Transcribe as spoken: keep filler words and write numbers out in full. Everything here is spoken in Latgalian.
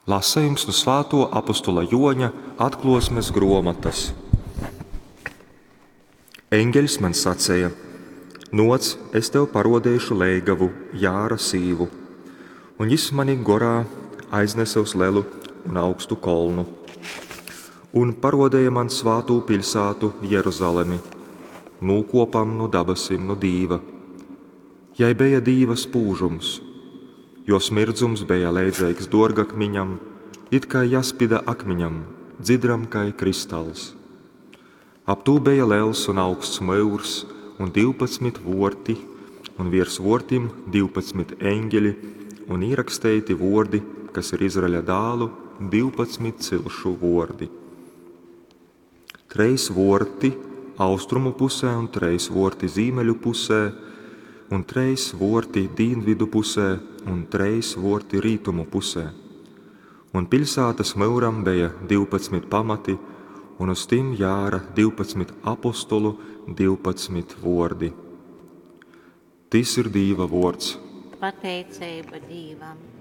Lasejums nu Svātuo apostula Juoņa Atkluosmes gruomotys. Eņgeļs maņ saceja: Nuoc, es tev paruodeišu leigavu, Jāra sīvu. Un jis mani gorā aiznese uz lelu un augstu kolnu un paruodeja man svātū piļsātu Jeruzalemi, nūkuopam nu dabasim nu Dīva. Jai beja Dīva spūžums. Juos mirdzums beja leidzeigs duorgakmiņam, it kai jaspida akmiņam, dzidram kai kristals. Ap tū beja lels un augsts myurs un divpadsmit vuorti, un viers vuortim divpadsmit eņgeli un īraksteiti vuordi, kas ir Izraeļa dālu divpadsmit cilšu vuordi. Treis vuorti austrumu pusē un treis vuorti zīmeļu pusē, un treis vuorti dīnvydu pusē un treis vuorti rītumu pusē. Un piļsātys myuram beja divpadsmit pamati, un uz tim jāra divpadsmit apostolu divpadsmit vuordi. Tys ir Dīva vuords. Pateiceiba Dīvam.